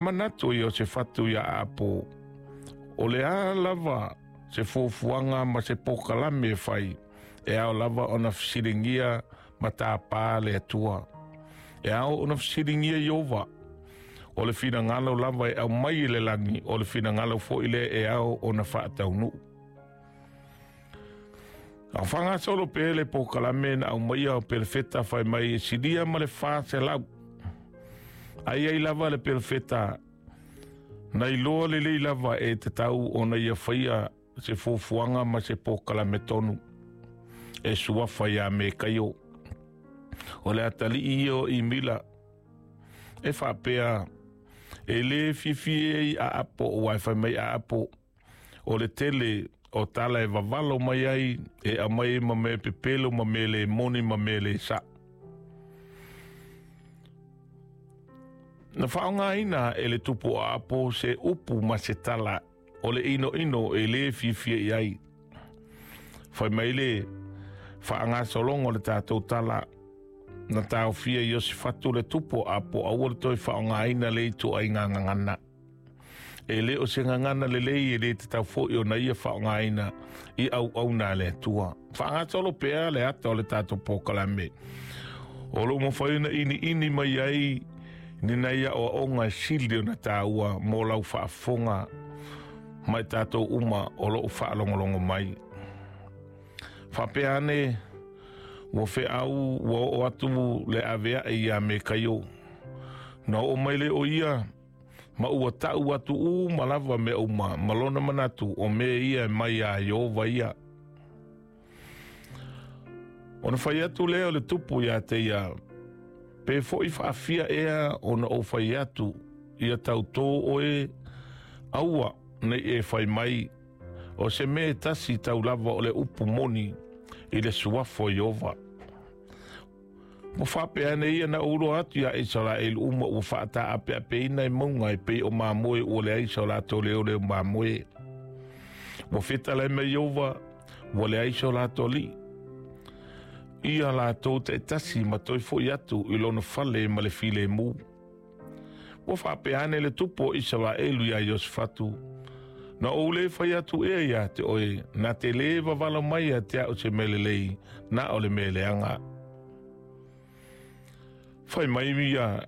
Manatu o Iosefatu iā Aapo, o le a lava se fuafuaga ma se polokalame e fai, e ao lava ona fesiligia ma tapa le Atua. E ao ona fesiligia Ieova. O le finagalo lava e aumai i le lagi, o le finagalo foi lea e ao ona faataunuu. A faagasolo pea le polokalame na aumaia o pelefeta fai mai e silia ma le 400. Ai ai lava le pelefeta na iloa lelei lava e tatau ona ia faia se fuafuaga ma se polokalame tonu e suafa iā Mekaio. O le atalii ia o Imila e faapea e lē fiafia ai Aapo aua e fai mai Aapo o le tele o tala e vavalo mai ai e aumai ai ma mea pepelo ma mea le moni ma mea le saʻo. Na faaaogaina e le tupu o Aapo se upu ma se tala o le ʻinoʻino e lē fiafia i ai. Fai mai le faagasologa o le tatou tala, na taofia Iosefatu le tupu o Aapo aua le toe faaaogaina lea ituaiga gagana. E le o se gagana lelei e lē tatau foi ona ia faaaogaina i auauna a le Atua. Faagasolo pea le ata o le tatou polokalame. O lo o mafai ona iniini mai ai ni nai aoaoga e sili ona taua mo lau faafofoga ma i tatou uma o lo o faalogologo mai. Faapea ane, ua feau ua oo atu le aveaʻe iā Mekaio. Na oo mai lea o ia ma ua taʻu atu uma lava mea uma ma lona manatu o mea ia e mai iā Ieova ia. Ona fai atu lea o le tupu iā te ia, Pe foi faafia ea ona ou fai atu, ia tautō oe, aua nei e fai mai, o se mea e tasi tau lava o le upu moni i le suafa o Ieova. Ua faapea ane ia na ou iloa atu iā Isaraelu uma ua faataapeapeina i mauga e pei o mamoe ua leai so latou leoleo mamoe. Ua fetalai mai Ieova, ua leai so latou alii. Ia latou taitasi ma toe foi atu i lona fale ma le filemu. Ua faapea ane le tupu o Isaraelu iā Iosefatu, Na ou lē fai atu ea iā te oe, na te lē vavalo mai ia te a'u se mea lelei, na o le mea leaga. Fai mai ia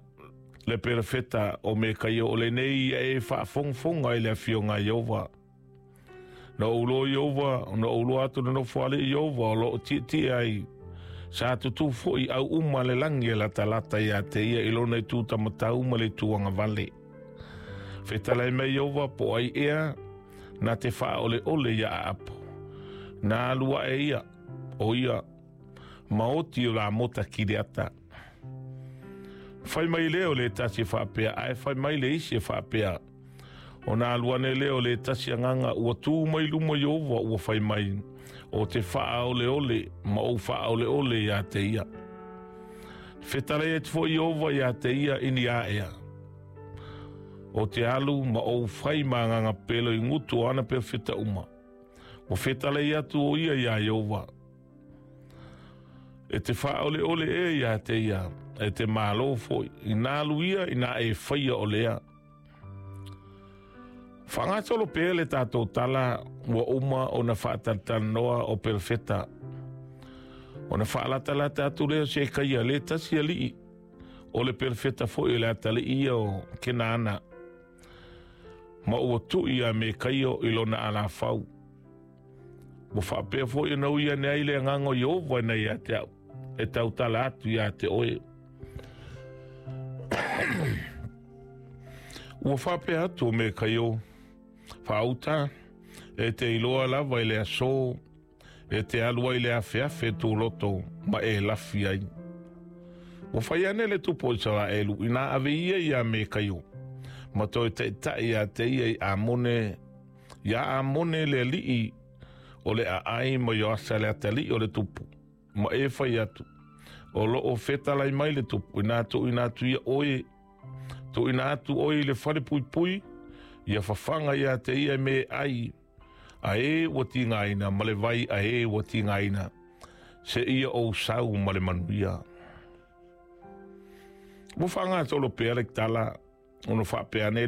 le perofeta o Mekaio o lenei ia e faafogafoga i le afioga a Ieova. Na ou loa Ieova, na ou loa atu le nofoalii Ieova o lo o tietie ai. Sa tutū foi au uma le lagi e latalata iā te ia i lona itu tamatau ma le itu agavale. Fetalai mai Ieova po o ai ea na te faaoleole iā Aapo. Na alu aʻe ia, o ia, ma oti o Lamota Kileata. Fai mai lea o le tasi e faapea, ae fai mai le isi e faapea, Ona alu ane lea o le tasi agaga ua tū mai luma Ieova ua fai mai, O te faaoleole ma ou faaoleole iā te ia. Fetalai atu foi Ieova iā te ia i ni aea. O te alu ma ou fai ma agaga pelo i ngutu o ana perofeta uma. Ua fetalai atu o ia iā Ieova. E te faaoleole ea iā te ia, e te malo foi, inā alu ia inā e faia o lea. Faagasolo pea le tatou tala ua uma ona faatalatalanoa o perofeta. Ona faalatalata atu lea o Sekaia le tasi alii o le perofeta foi o le atalii ia o Kenaana, ma ua tui iā Mekaio i lona alafau. Ua faapea foi ona ui ane ai le agaga o Ieova ina ia te au, e tautala atu iā te oe. Ua faapea atu o Mekaio, Faauta, e te iloa lava i le aso e te alu ai le afeafe tūloto ma e lafi ai. Ua fai ane le tupu o Isaraelu inā ave ia iā Mekaio, ma toe taitai iā te ia i Amone, iā Amone le alii o le aai ma Ioasa le atalii o le tupu. Ma e fai atu, O lo o fetalai mai le tupu, inā tuuina atu ia oe, tuuina atu oe i le fale puipui, ia fafaga iā te ia e me e ai, a e ua tigaina, ma le vai a e ua tigaina, se ia ou sau ma le manuia. Ua faagasolo pea le tala, ona faapea ane.